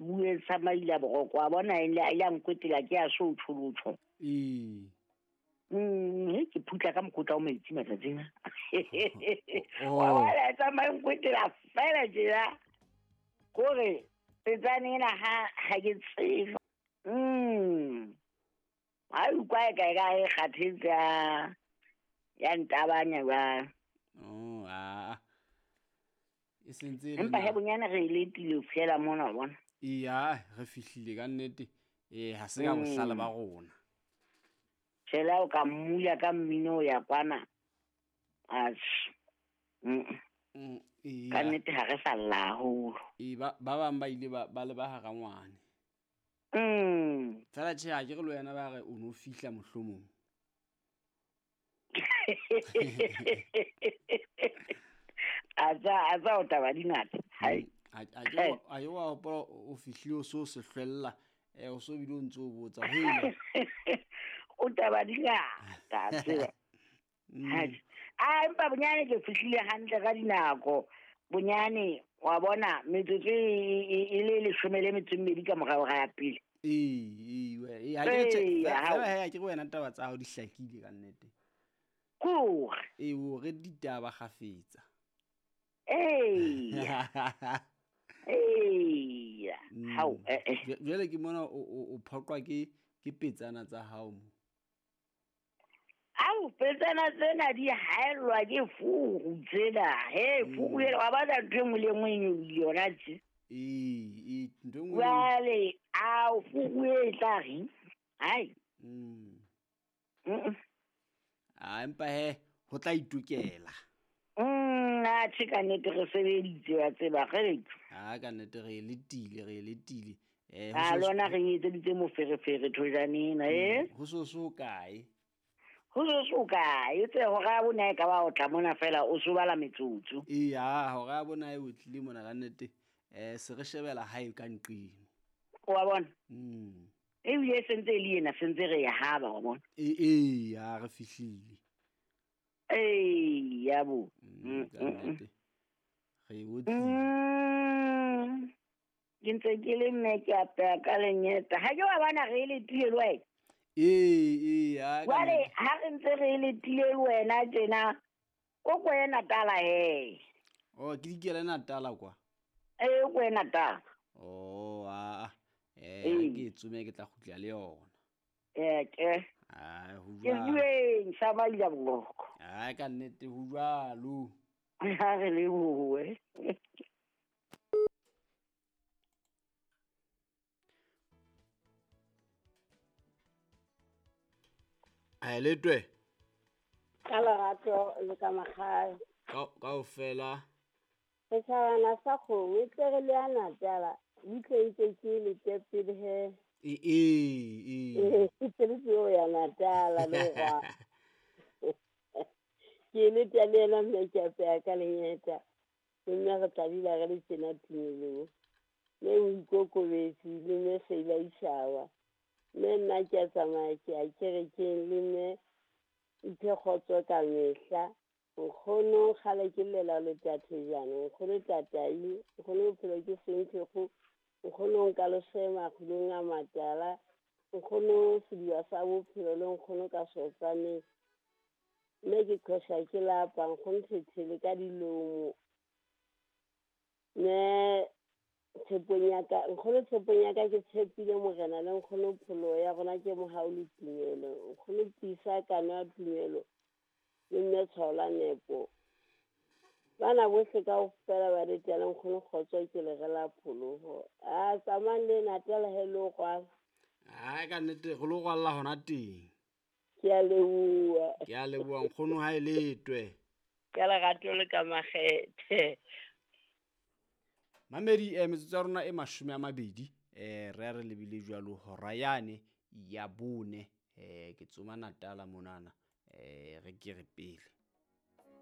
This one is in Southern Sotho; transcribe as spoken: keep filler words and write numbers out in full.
bue sa maila boroko wa bona e le a nkwetela ke a so tsholotsho. Ee. Mm, ke phutla ka mokotla o metsi matsatsing a. Wa bona e tsamaya nkwetela fela tjena. Kore petsane ena ha ha ke tsebe. Mm. Ha utlwa e ka e ka e kgathetse ya ya ntabanya ba. Oh, ah. E sentse le Empa he nako. bonyane re letile ho fihlela mona wa bona. Eya, re fihlile ka nnete. Eh, ha se ka bohlale ba rona. Tjhela o ka mmula ka mmino ya kwana. Atjhe. Mm. Mm, eya. Ka nnete ha re sa lla haholo. Ee, ba ba bang ba ile ba ba le ba hara ngwane. Mm. Fela tjhe ha ke re le wena ba re o no fihla mohlomong. A tsa a tsa o taba di ngata. Hai. A a ke wa a ke wa hopola o fihlile o so se hlwella eh o so bile o ntso o botsa ho ena. O taba di ngata tseba. Hai. A empa bonyane ke fihlile hantle ka dinako. Bonyane wa bona metsotso e e le leshome le metso e mmedi ka morao ga ya pele. Ee, ee, ha ke re tjhe, Ee, ha fela he ha ke re wena taba tsa hao di hlakile ka nnete. Kore. Ee, o re ditaba kgafetsa. Ee. Ee. Hao, eh eh. Jwale ke mona o o phoqwa ke ke petsana tsa hao mo. Au, petsana tsena di haellwa ke furu tsena. He, furu ena wa batla ntho e nngwe le e nngwe e nyolohile yona tje. Ee, ee, ntho e nngwe le e nngwe. Jwale, ao, furu e tla reng? Hai. Mm. Mm. Ah, empa he, ho tla itokela. Mm, atjhe ka nnete re sebeditse wa tseba, kgeleke. Ah, ka nnete re letile, re letile. Eh, ho A so lona re etseditse moferefere thojane ena, eh? Ho so so kae? Ho so so kae? Tse hora ya bone e ka ba o tla mona fela o so bala metsotso. Ee, ha hora ya bone e o tlile mona ka nnete. Eh, se re shebela hae ka nqeng. Wa bona? Mm. Ebile e sentse e le ena, sentse re e haba wa bona. Ee, ee, ha re fihlile. Ee, ya bo. Mm, ka nnete. Re e otlile. Mm. Ke ntse ke le mme ke apeya ka lenyeta. Ha ke wa bona re e letile le wena? Ee, ee, ha ka Jwale nnete. ha re ntse re e letile le wena tjena, o ko ye Natala he. Oh, ke dikele Natala kwa? Ee, o ko ye Natala. Oh, ah, eh, ha ke tsome ke tla kgutla le yona. Eh, ke. Ah, ho Ke jwalo. bueng sa maila boroko. Ah, ka nnete ho jwalo. Ha re lebohe. A letwe. Ka lerato le ka makgale. Ka kaofela. Setjhabana sa kgomo e tle re le ya Natala, butle ntse ke le tepele he. Ee, ee, ee. Ke tle ke yo ya Natala le hwa. Ke le tla le yena mme ke apeya ka lenyeta. Mme re tla dula re le tjena tumelong. Mme o ikokobetse le mme Sheila Ishawa. Mme nna ke a tsamaya ke ya kerekeng le mme iphe kgotso ka mehla. Nkgono kgale ke llela le tathejana, nkgono tatai, nkgono bophelo ke senthekgo, nkgono nka losema kgulong a matala, nkgono sediba sa bophelo le nkgono ka sotsaneng. Mme ke qhosha ke lapa, nkgono thethele ka dilomo. Mme tshepong ya ka, nkgono tshepong ya ka ke tshepile morena le nkgono pholo ya rona ke mohau le tumelo. Nkgono tiisa kano ya tumelo le mme tshwao la nepo. Bana bohle kaofela ba letela le nkgono kgotso ke le re la pholoho. A tsamayang le Natala he le ho rwala. Ai, ka nnete re lo rwalla hona teng. Ke a leboha. Ke a leboha nkgono ha e letwe. Ka lerato le ka makgethe. Mamedi, eh, metsotso ya rona e mashome a mabedi, eh, re a re lebile jwalo hora yane ya bone, eh, ke tsoma Natala monana, eh, re ke re pele.